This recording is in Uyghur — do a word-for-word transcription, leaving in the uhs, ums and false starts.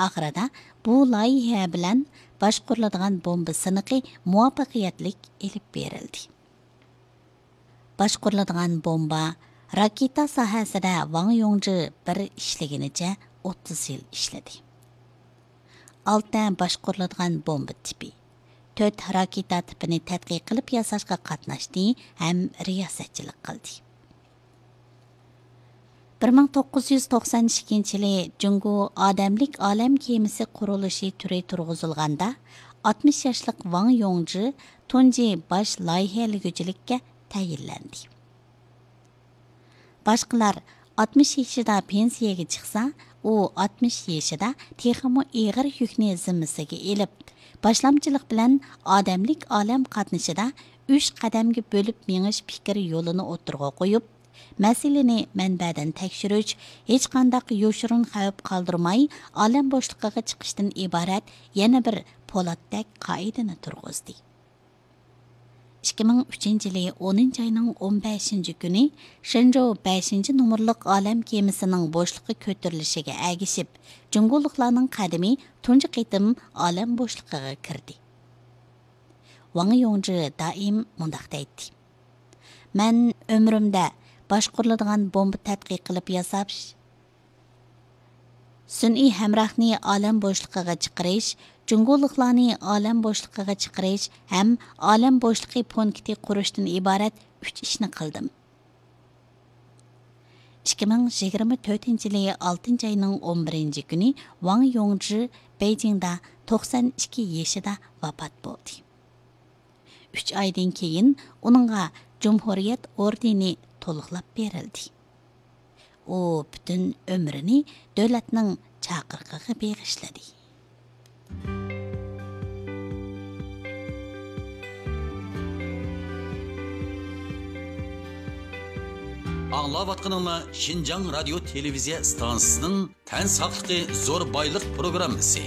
ئاخىرىدا بۇ لايىھە بىلەن باشقۇرۇلىدىغان بومبا سىنىقى مۇۋەپپەقىيەتلىك ئېلىپ بېرىلدى. باشقۇرۇلىدىغان بومبا، راكېتا ساھەسىدە ۋاڭ يوڭجى بىر ئىشلىگىنىچە ئوتتۇز يىل ئىشلىدى. ئالتە باشقۇرۇلىدىغان بومبا تىپى، تۆت راكېتا تىپىنى تەتقىق قىلىپ ياساشقا قاتناشتى ھەم رىياسەتچىلىك قىلدى. بىر مىڭ توققۇز يۈز توقسان ئىككىنچى يىلى جۇڭگو ئادەملىك ئالەم كېمىسى قۇرۇلۇشى تۈرى تۇرغۇزۇلغاندا، ئاتمىش ياشلىق ۋاڭ يوڭجى تۇنجى باش لايىھەلىگۈچىلىككە تەيىنلەندى. باشقىلار ئاتمىش يېشىدا پېنسىيەگە چىقسا، ئۇ ئاتمىش يېشىدا تېخىمۇ ئېغىر يۈكنى زىممىسىگە ئېلىپ، باشلامچىلىق بىلەن ئادەملىك ئالەم قاتنىشىدا ئۈچ قەدەمگە بۆلۈپ مېڭىش پىكىر يولىنى ئوتتۇرىغا قويۇپ، مەسىلىنى مەنبەدىن تەكشۈرۈش، ھېچقانداق يوشۇرۇن خەۋپ قالدۇرماي، ئالەم بوشلۇقىغا چىقىشتىن ئىبارەت يەنە بىر پولاتتەك قائىدىنى تۇرغۇزدى. ئىككى مىڭ ئۈچىنچى يىلى ئونىنچى ئاينىڭ ئون بەشىنچى كۈنى شېنجوۋ بەشىنچى نومۇرلۇق ئالەم كېمىسىنىڭ بوشلۇققا كۆتۈرۈلۈشىگە ئەگىشىپ، جۇڭگولۇقلارنىڭ قەدىمى تۇنجى قېتىم ئالەم بوشلۇقىغا كىردى. ۋاڭ يوڭجى دائىم مۇنداق دەيتتى: «مەن ئۆمرۈمدە باشقۇرۇلىدىغان بومبا تەتقىق قىلىپ ياساش، سۈنئىي ھەمراھنى ئالەم بوشلۇقىغا چىقىرىش، جۇڭگولۇقلارنى ئالەم بوشلۇقىغا چىقىرىش ھەم ئالەم بوشلۇقى پونكىتى قۇرۇشتىن ئىبارەت ئۈچ ئىشنى قىلدىم.» ئىككى مىڭ يىگىرمە تۆتىنچى يىلى ئالتىنچى ئاينىڭ ئون بىرىنچى كۈنى ۋاڭ يوڭجى بېيجىڭدا توقسان ئىككى يېشىدا ۋاپات بولدى. ئۈچ ئايدىن كېيىن ئۇنىڭغا جۇمھۇرىيەت ئوردېنى تولۇقلاپ بېرىلدى. ئۇ پۈتۈن ئۆمرىنى دۆلەتنىڭ چاقىرىقىغا بېغىشلىدى. ئاڭلاۋاتقىنىڭلار شىنجاڭ رادىيو تېلېۋىزىيە ئىستانسىسىنىڭ تەن ساقلىقى زور بايلىق پروگراممىسى.